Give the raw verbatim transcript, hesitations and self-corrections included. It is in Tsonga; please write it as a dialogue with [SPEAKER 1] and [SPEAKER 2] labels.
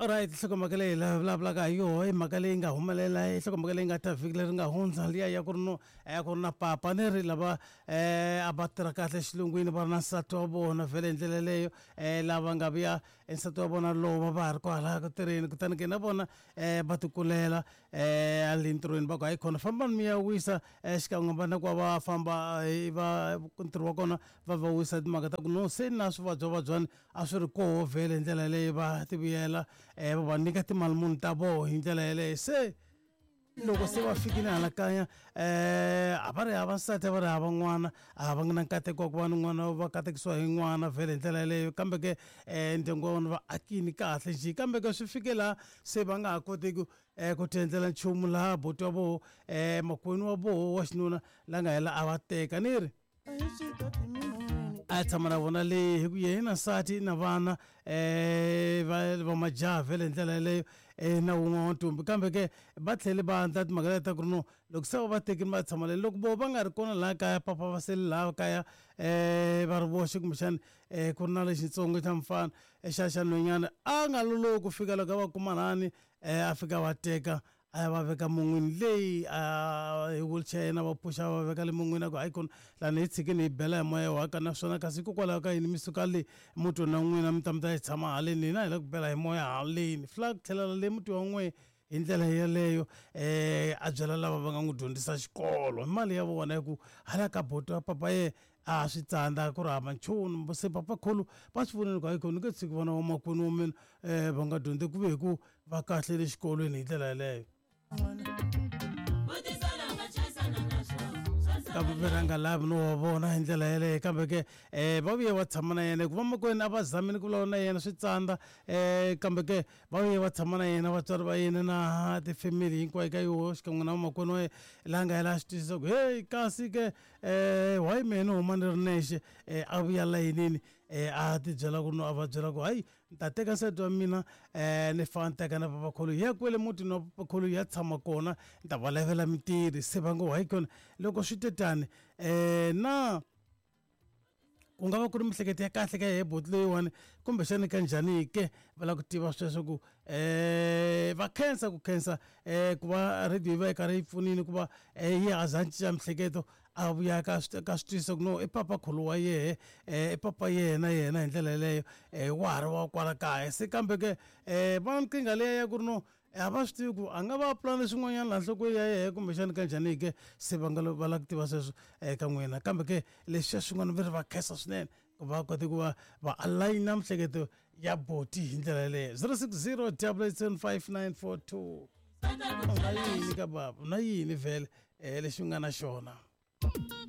[SPEAKER 1] Alright, nhlokomhaka leyi hi vulavulaka hi yoho i mhaka leyi nga humelela, i nhlokomhaka leyi nga ta vhiki leri nga hundza, liya ya ku ri no ya ku ri na papa ni ri lava um a va tirha kahle xilungwini, va ri na nsati wa vona vhele hi ndlela yeleyo, um lava nga vuya nsati wa vona lova va ha ri kwalaya ku tirheni, kutani ke na vona um va tikulela um le ntirhweni, va ku hayi khona fambani mi ya wisa um xikan'we va na ku va va famba va ntirho wa kona va va wisa timhaka ta ku no se na swivabyavabyani a swi ri koho vhele hi ndlela yeleyo, va ti vuyela um va va nyika timali muni ta voho hi ndlela yeleyo. Se loko se va fikile hala kaya um a va ri hava nsati, a va ri hava n'wana, a va nga na nkateko wa ku va ni n'wana, va katekisiwa hi n'wana vhele hi ndlela yeleyo, kambe ke um ndyangu wa vona va akini kahle njhe, kambe ke swi fike laha se va nga ha kotiki um ku ti endlela nchumu, laha buti wa voho um makwenu wa voho wa xinuna la nga hela a va teka ni ri a tshama na vona le hi ku yehe na nsati na vana um va va majaha vhele hi ndlela yeleyo um na wun'we wa ntombi, kambe ke va tlhele va endla timhaka leti ta ku ri no loko se va va tekile va tshama le, loko vo va nga ri kona laha kaya, papa va sele laha kaya um va ri voxe, kumbexani um ku ri na lexitsongo xa mufana xa xa nhwenyana a nga lolohi ku fika loko a va kuma lani um a fika va teka a ya va veka mun'wini leyi a hi wheelchair yena va pfuxa va veka le mun'wini, a ku hayi kona lani hi tshikini hi bela hi moya wa ka naswona, kasi hikokwalaho ka yini mi suka le mutini wa n'wina mi ta mi ta yi tshama haleni, hina hi la ku bela hi moya haleni, fila ku tlhelela le muti wa n'we hi ndlela yeleyo. um a byela lava va nga n'wi dyondzisa xikolo hi mali ya vona, hi ku hala ka buti wa papa ye a swi tsandza ku ri hava nchumu, se papa khulu va swi vonile ku hayi khona ni nge tshiki vana va makwenu wa mina um va nga dyondzi ku ve hi ku va kahle le xikolweni hi ndlela yeleyo. Kambe ve ra nga lavi no wa vona hi ndlela yeleyo, kambe ke um va vuye va tshama na yena hikuva makwenu a va zamile ku vulavula na yena swi tsandza, um kambe ke va vuye va tshama na yena vatswari va yena na tifamily hinkwayo ka yoho xikan'we na vamakwenu wa yena, laha nga hela a swi twisisa ku heyi kasi ke um why mehe ni huma ni ri nexe, um a vuya layinini um a ti byela ku no a va byela ku hayi ni ta teka nsati wa mina um ni famba ni teka na papakhulu hi ya kwele mutini wa papakhulu hi ya tshama kona, ni ta va lavela mintirho. Se va ngo hayi kona loko swi te tani um na ku nga va ku ri miehleketo ya kahle ka yehe buti leyiwani kumbexani ka njhani ke, va lava ku tiva sweswo ku um va khensa ku khensa um ku va radio yi va yi karhi yi pfunile ku va yi a za a cinca miehleketo a vuya ka ka swi twisisa ku no i papa khulu wa yehe um i papa yena yena hi ndlela yeleyo um wa ha ri wa kwala kaya. Se kambe ke um va nkingha liya ya ku ri no a va swi tivi ku a nga va pulani swin'wanyana laha nhlokweni ya yehe kumbexani ka njhani ke, se va nga va lava ku tiva sweswo eka n'wina, kambe ke leswiya swin'wana va ri va khensa swinene ku va kote ku va va alayina miehleketo ya boti hi ndlela yeleyo. zero six zero double eight seven five nine four two u na yini ka baba, u na yini vhele um lexi u nga na xona?